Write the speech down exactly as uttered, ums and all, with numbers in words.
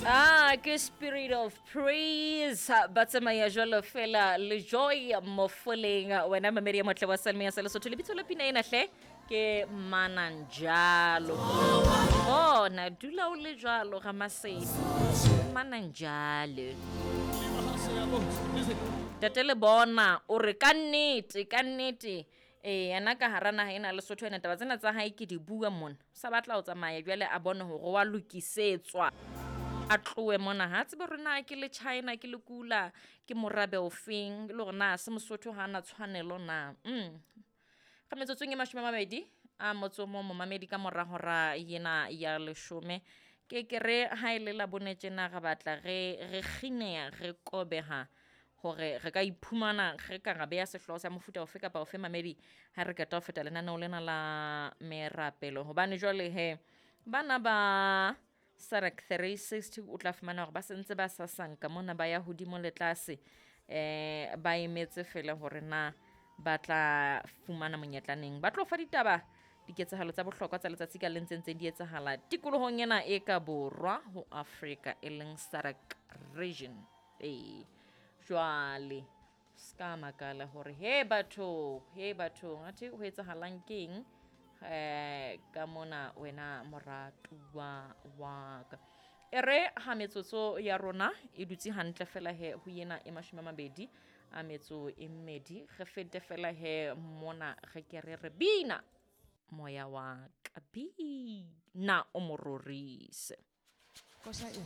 Ah, ke Spirit of Praise ba tsamaya jwalo fela le Joy Mofoleng. Wena mamedi ya motle wa Salme ya sa Lesotho, lebitso la pina ena hle ke Mananjalo. Bona dula o le jwalo ga Masedi, Mananjalo. Tate le bona o re ka nnete, ka nnete. Eh, yena ka hara naha ena Lesotho ena taba tsena tsa hae ke di bua mona. O sa batla ho tsamaya jwale a bone hore wa lokisetswa. A tlohe mona, ha tsebe hore na ke le China, ke le kula, ke morabe ofeng, le hore na se Mosotho ha ana tshwanelo na. Mm. Ka metsotsong e mashome a mabedi a motso o mong momamedi ka mora hora ena ya leshome. Ke ke re ha e le la bone tjena re batla re re kgineha, re kobeha hore re ka iphumana re ka ra beha sehlooho sa mofuta ofe kapa ofe mamedi ha re qeta ho feta lenaneo lena la merapelo. Hobane jwale he bana ba SADC three sixty o tla fumana hore ba sentse ba sasanka mona ba ya hodimo le tlase, eh ba emetse fela hore na ba tla fumana monyetla neng. Ba tlo fa ditaba diketsahalo tsa bohlokwa tsa letsatsi ka leng tse ntseng di etsahala tikolohong ena e ka borwa ho Afrika e leng SADC region. Ee, jwale ska makala hore he batho, he batho athe ho etsahalang keng eh ka mona wena moratuwa wa ka. E re ha metsotso ya rona e dutse hantle fela he ho yena e mashome a mabedi a metso e mmedi, re fete fela he mona re ke re re bina moya wa ka, bina o mo rorise. Kosa e.